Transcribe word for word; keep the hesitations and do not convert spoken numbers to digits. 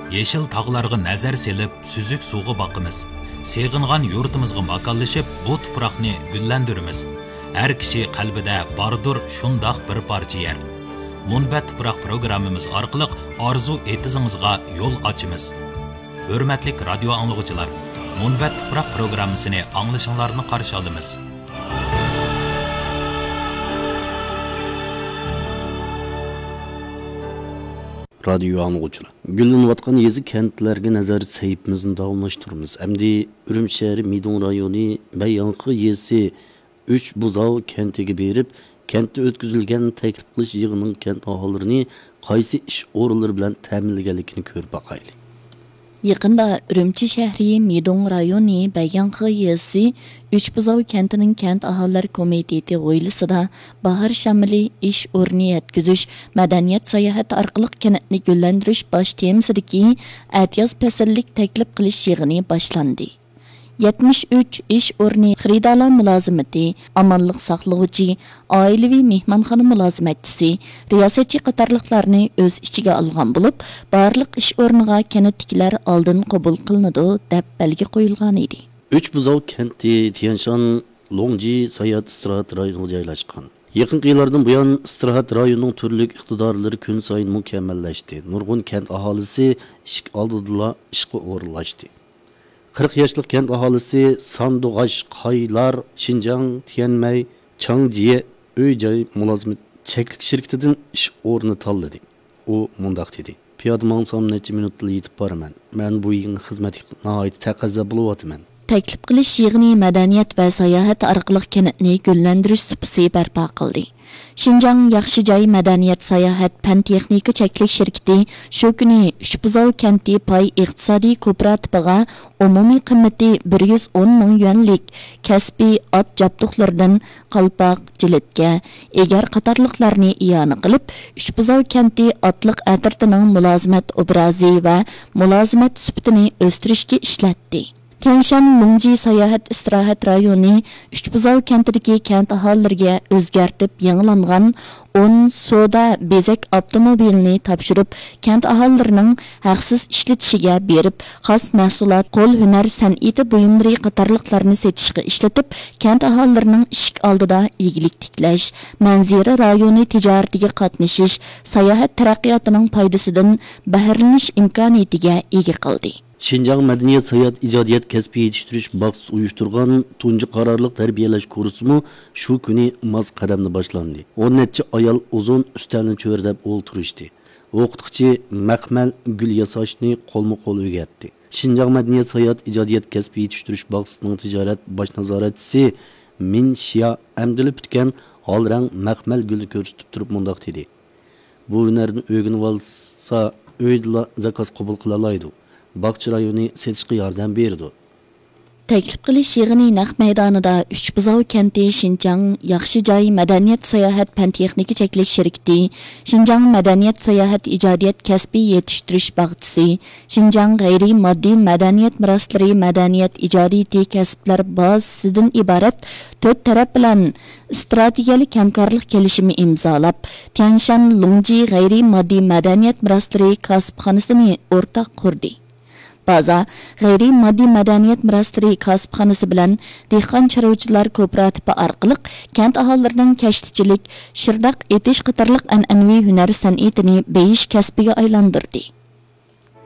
يېشىل تاغلارغا نەزەر سېلىپ، سۈزۈك سۇغا باقىمىز. سېغىنغان يۇرتىمىزغا ماكانلىشىپ، بۇ تۇپراقنى گۈللەندۈرىمىز. ھەر كىشى قەلبىدە باردۇر شۇنداق بىر پارچە يەر. مۇنبەت تۇپراق پروگراممىمىز ئارقىلىق ئارزۇ ئېتىزىڭىزغا يول ئاچىمىز. ھۆرمەتلىك رادىيو ئاڭلىغۇچىلار، مۇنبەت تۇپراق پروگراممىسىنى ئاڭلىشىڭلارنى قارشى ئالىمىز. رادىيو ئاڭلىغۇچىلار، گۈللىنىۋاتقان يېزا، كەنتلەرگە نەزەر سەھىپىمىزنى داۋاملاشتۇرىمىز. ئەمدى ئۈرۈمچى شەھىرى مىدوڭ رايونى بەيياڭخې يېزىسى ئۈچ بۇزاۋ كەنتىگە بېرىپ، كەنتتە ئۆتكۈزۈلگەن تەكلىپ قىلىش يىغىنىنىڭ كەنت ئاھالىلىرىنى قايسى ئىش ئورۇنلىرى بىلەن تەمىنلىگەنلىكىنى كۆرۈپ باقايلى. يېقىندا ئۈرۈمچى شەھىرى مىدوڭ رايونى بەيياڭخې يېزىسى ئۈچ بۇزاۋ كەنتىنىڭ كەنت ئاھالىلەر كومىتېتى ھويلىسىدا باھار شامىلى، ئىش ئورنى يەتكۈزۈش، مەدەنىيەت ساياھەت ئارقىلىق كەنتنى گۈللەندۈرۈش باش تېمىسىدىكى ئەتىياز پەسىللىك تەكلىپ قىلىش يىغىنى باشلاندى. يەتمىش ئۈچ ئىش ئورنى خېرىدارلار مۇلازىمىتى، ئامانلىق ساقلىغۇچى، ئائىلىۋى مېھمانخانا مۇلازىمەتچىسى، رىياسەتچى قاتارلىقلارنى ئۆز ئىچىگە ئالغان بولۇپ، بارلىق ئىش ئورنىغا كەنتتىكىلەر ئالدىن قوبۇل قىلىنىدۇ، دەپ بەلگە قويۇلغانىدى. ئۈچ بۇزاۋ كەنتى تيەنشان لوڭجى ساياھەت ئىستىراھەت رايونىغا جايلاشقان. يېقىنقى يىللاردىن بۇيان، ئىستىراھەت رايونىنىڭ تۈرلۈك ئىقتىدارلىرى كۈن سايىن مۇكەممەللەشتى. نۇرغۇن كەنت ئاھالىسى ئىشىك ئالدىدىلا ئىشقا ئورۇنلاشتى. قىرىق ياشلىق كەنت ئاھالىسى ساندۇغاش قايلار شىنجاڭ تيەنمەي چاڭجيې ئۆي جاي مۇلازىمەت چەكلىك شىركىتىدىن ئىش ئورنى تاللىدى. ئۇ مۇنداق دېدى: پىيادە ماڭسام نەچچە مىنۇتتىلا يېتىپ بارىمەن. مەن بۇ يېڭى خىزمەتكە ناھايىتى تەقەززا بولۇۋاتىمەن. تەكلىپ قىلىش يىغىنى مەدەنىيەت ۋە ساياھەت ئارقىلىق كەنتنى گۈللەندۈرۈش سۇپىسى بەرپا قىلدى. شىنجاڭ ياخشى جاي مەدەنىيەت ساياھەت پەن تېخنىكا چەكلىك شىركىتى شۇ كۈنى ئۈچ بۇزاۋ كەنتى پاي ئىقتىسادىي كوپىراتىپىغا ئومۇمىي قىممىتى بىر يۈز ئون مىڭ يۈەنلىك كەسپىي ئات جابدۇقلىرىدىن قالپاق، جىلىتكە، ئېگەر قاتارلىقلارنى ئىئانە قىلىپ، ئۈچ بۇزاۋ كەنتى ئاتلىق ئەترىتىنىڭ مۇلازىمەت ئوبرازى ۋە مۇلازىمەت سۈپىتىنى ئۆستۈرۈشكە ئىشلەتتى. تيەنشان لۇڭجى ساياھەت ئىستىراھەت رايونى ئۈچ بۇزاۋ كەنتىدىكى كەنت ئاھالىلىرىگە ئۆزگەرتىپ يېڭىلانغان ئون سودا بېزەك ئاپتوموبىلىنى تاپشۇرۇپ، كەنت ئاھالىلىرىنىڭ ھەقسىز ئىشلىتىشىگە بېرىپ، خاس مەھسۇلات، قول ھۈنەر سەنئىتى بۇيۇملىرى قاتارلىقلارنى سېتىشقا ئىشلىتىپ، كەنت ئاھالىلىرىنىڭ ئىشىك ئالدىدا ئىگىلىك تىكلەش، مەنزىرە رايونى تىجارىتىگە قاتنىشىش، ساياھەت تەرەققىياتىنىڭ پايدىسىدىن بەھرىلىنىش ئىمكانىيىتىگە ئىگە قىلدى. شىنجاڭ مەدەنىيەت ساياھەت ئىجادىيەت كەسپىي يېتىشتۈرۈش باغچىسى ئۇيۇشتۇرغان تۇنجى قارارلىق تەربىيەلەش كۇرسىمۇ شۇ كۈنى ماس قەدەمدە باشلاندى. ئون نەچچە ئايال ئۇزۇن ئۈستەلنى چۆرىدەپ ئولتۇرۇشتى. ئوقۇتقۇچى مەخمەل گۈل ياساشنى قولمۇ قول ئۆگەتتى. شىنجاڭ مەدەنىيەت ساياھەت ئىجادىيەت كەسپىي يېتىشتۈرۈش باغچىسىنىڭ تىجارەت باش نازارەتچىسى مىن شيا ئەمدىلا پۈتكەن ھال رەڭ مەخمەل گۈلنى كۆرسىتىپ تۇرۇپ مۇنداق دېدى: بۇ ھۈنەرنى ئۆگىنىۋالسا، ئۆيدىلا زاكاز قوبۇل قىلالايدۇ. باغچە رايونى سېتىشقا ياردەم بېرىدۇ. تەكلىپ قىلىش يىغىنى نەق مەيدانىدا ئۈچ بۇزاۋ كەنتى شىنجاڭ ياخشى جاي مەدەنىيەت ساياھەت پەن تېخنىكا چەكلىك شىركىتى، شىنجاڭ مەدەنىيەت ساياھەت ئىجادىيەت كەسپىي يېتىشتۈرۈش باغچىسى، شىنجاڭ غەيرىي ماددىي مەدەنىيەت مىراسلىرى مەدەنىيەت ئىجادىيىتى كەسىپلەر بازىسىدىن ئىبارەت تۆت تەرەپ بىلەن ئىستراتېگىيەلىك ھەمكارلىق كېلىشىمى ئىمزالاپ، تيەنشان لۇڭجى غەيرىي ماددىي مەدەنىيەت مىراسلىرى كاسىپخانىسىنى ئورتاق قۇردى. بازا غەيرىي ماددىي مەدەنىيەت مىراسلىرى كاسىپخانىسى بىلەن دېھقان چارۋىچىلار كوپىراتىپى ئارقىلىق كەنت ئاھالىلىرىنىڭ كەشتىچىلىك، شىرداق ئېتىش قاتارلىق ئەنئەنىۋى ھۈنەر سەنئىتىنى بېيىش كەسپىگە ئايلاندۇردى.